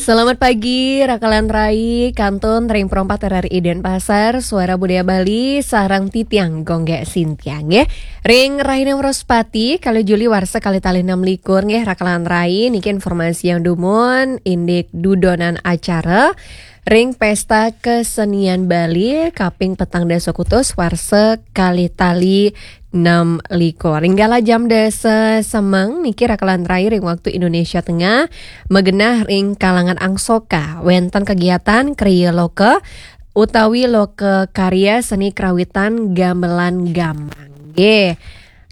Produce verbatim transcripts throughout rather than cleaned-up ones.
Selamat pagi, Rakalan Rai, kantun ring perempat R R I Denpasar, Suara Budaya Bali, sareng titiang Gonggek Sintiang, nggih. Ring Rahina Wraspati, kalih Juli warsa kalih tali enam likur, nggih, Rakalan Rai, niki informasi yang dumun, indik dudonan acara ring Pesta Kesenian Bali kaping petang dasa kutus warsa kalih tali enam likur. Ring kala jam dasa semeng niki Rakalan Rai ring waktu Indonesia Tengah, magenah ring kalangan Angsoka, wenten kegiatan kriya loka utawi loka karya seni karawitan gamelan gambang. Nggih.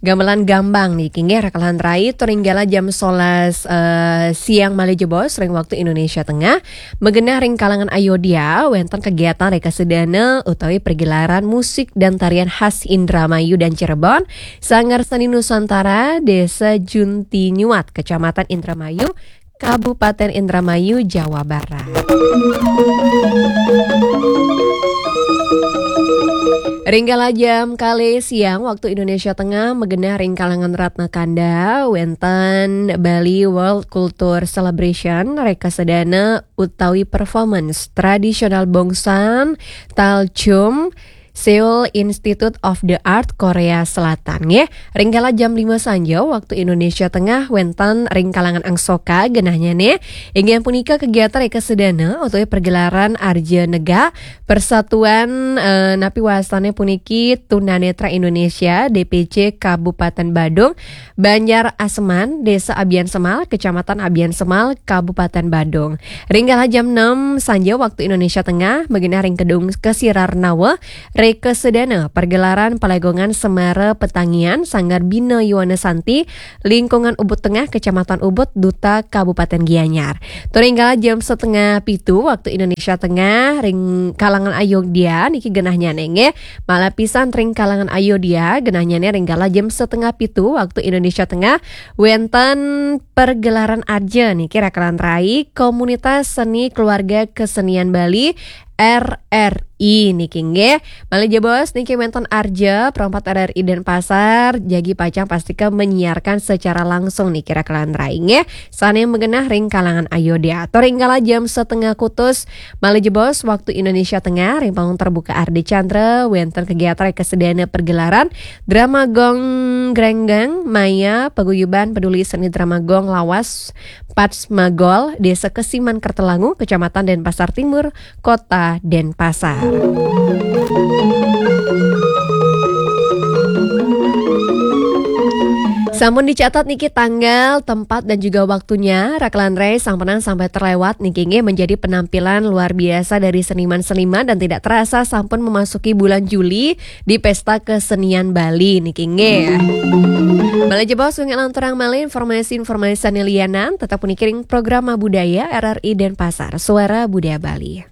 Gamelan gambang niki nggih Rakalan Rai, tur ring kala jam solas, eh, siang malih jebos ring waktu Indonesia Tengah, magenah ring kalangan Ayodhya, wenten kegiatan reka sedana utawi pergelaran musik dan tarian khas Indramayu dan Cirebon, Sanggar Seni Nusantara, Desa Junti Nyuat, Kecamatan Indramayu, Kabupaten Indramayu, Jawa Barat. Ring kala jam kalih siang waktu Indonesia Tengah, magenah ring kalangan Ratna Kanda, wenten Bali World Culture Celebration, reka sedana utawi performance tradisional Bongsan, Talchum, Seoul Institute of the Art, Korea Selatan, nggih. Ring kala jam lima sanja waktu Indonesia Tengah, wenten ring kalangan Angsoka, genahnyane inggih punika kegiatan reka sedana utawi pergelaran Arja Negak Persatuan, eh, napi wastane puniki Tunanetra Indonesia, D P C Kabupaten Badung, Banjar Aseman, Desa Abian Semal, Kecamatan Abian Semal, Kabupaten Badung. Ring kala jam enam sanja waktu Indonesia Tengah, magenah ring Gedung Kesirarnawa, reka sedana pergelaran palegongan Semara Petangian, Sanggar Bina Yowana Santi, Lingkungan Ubud Tengah, Kecamatan Ubud, Duta Kabupaten Gianyar. Tur ring kala jam setengah pitu waktu Indonesia Tengah, ring kalangan Ayodhya niki genahnyane nggih. Malah pisan ring kalangan Ayodhya, genahnyane ring kala jam setengah pitu waktu Indonesia Tengah, wenten pergelaran Arja niki Rakalan Rai, Komunitas Seni Keluarga Kesenian Bali, R R I niki nggih. Malih jebos niki wenten Arja, perempat R R I Denpasar, jagi pacang pastika menyiarkan secara langsung niki Rakalan Rai nggih. Sane magenah ring kalangan Ayodhya. Tur ring kala jam setengah kutus, malih jebos waktu Indonesia Tengah, ring panggung terbuka Ardi Chandra, wenten kegiatan reka sedana pergelaran drama gong grenggeng maya paguyuban peduli seni drama gong lawas Patsmagol, Desa Kesiman Kertelangu, Kecamatan Denpasar Timur, Kota Denpasar. Sampun dicatat niki tanggal, tempat, dan juga waktunya, Rakalan Rai sampunang sampai terlewat niki nggih, menjadi penampilan luar biasa dari seniman-seniman dan tidak terasa sampun memasuki bulan Juli di Pesta Kesenian Bali niki nggih. Malih jebos, wengke lanturang malih informasi-informasi sane lianan, tetap puniki ring Programa Budaya R R I Denpasar, Suara Budaya Bali.